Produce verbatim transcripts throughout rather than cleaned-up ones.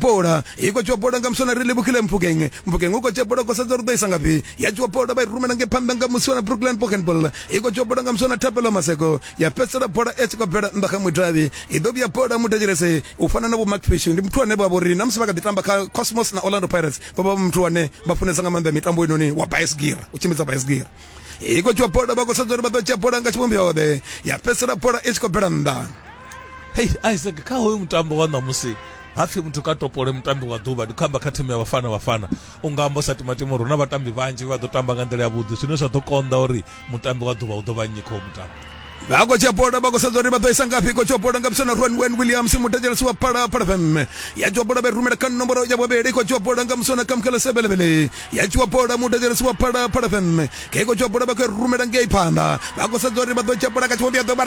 Bola i khou dzhiwa bola nga muswana ri livhukhile Mphukeng. Mphukeng u khou dzhia bola, khou sedza uri ḓo isa ngafhi. Ya dzhiwa bola vha i rumela nge phanḓa nga muswana Brooklyn Pockenball. I khou dzhiwa bola nga muswana Thapelo Maseko, ya fhedzisela bola i tshi khou bvela nnḓa kha mudavhi. I ḓo vhuya bola muthetshelese u fana na vho Mark Fish, ndi muthu ane vha vhori na musi vha kha ḓi tamba kha Cosmos na Orlando Pirates, vha vha muthu ane vha funesa nga maanḓa mitambo inoni wa baisigira, u tshimbidza baisigira. I khou dzhiwa bola, vha khou sedza uri vha ḓo dzhia bola nga tshivhumbeo ḓe, ya fhedzisela bola i tshi khou bvela nnḓa. Hei Isaac, kha hoyu mutambo wa ṋamusi hapfi muthu ka topole mutambi wa ḓuvha, ndi khou amba kha thimu ya Bafana Bafana, u nga amba u sa timatima uri hu na vhatambi vhanzhi vha ḓo tamba nga nḓila yavhuḓi, zwine zwa ḓo konḓa uri mutambi wa ḓuvha u ḓo vha nnyi kha mutambo. Vha khou dzhia bola, vha khou sedza uri vha ḓo isa ngafhi. Khou dzhia bola nga musana Ron Wen Williams, muthetshelesi wa Phalaphala F M. Ya dzhia bola vha i rumela kha nomboro ya vhuvhili. Khou dzhia bola nga musana Kamkhela Sebelebele. Ya dzhiwa bola, muthetshelesi wa Phalaphala F M. Ke khou dzhia bola, vha khou i rumela ngei phanḓa, vha khou sedza uri vha ḓo dzhia bola kha tshivhumbeo ḓo vha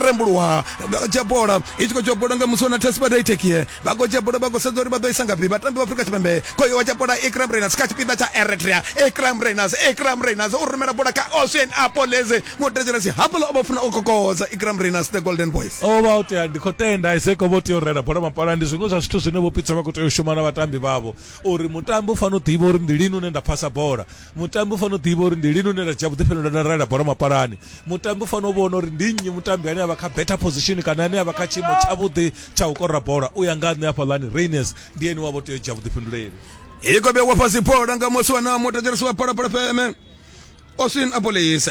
rembuluwa. Vha khou dzhia bola, i tshi khou dzhia bola nga musana Tespa Tekie. Vha khou dzhia bola, vha khou sedza uri vha ḓo isa ngafhi vhatambi vha Afrika Tshipembe. Khoyo wa dzhia bola Ikram Reyners kha tshipiḓa tsha Eritrea. Ikram Reyners, Ikram Reyners u rumela bola kha Ocean Apolese. Muthetshelesi, hafhaḽa o vha funa u kokodza Ikram Reyners, the Golden Boys. O vha u tea, ndi khou tenda Isaac, o vha u tea u rela bola mapala. Ndi zwiṅwe zwa zwithu zwine vho Pitso vha khou tea u shuma na vhatambi vhavho, uri mutambi u fanela u ḓivha uri ndi lini une nda phasa bola, mutambi u fanela u ḓivha uri ndi lini une nda dzhia vhuḓifhinduleli nda rela bola mapalani, mutambi u fanela u vhona uri ndi nnyi mutambi ane a vha kha better position kana ane a vha kha tshiimo tshavhuḓi tsha u kora bola. U ya nga nṋe, hafhaḽani Reyners ndi ene wa vho tea u dzhia vhuḓifhinduleli. I khou vhewa fhasi bola nga muswana, muthetshelesi wa Phalaphala F M, Oswin Apolis.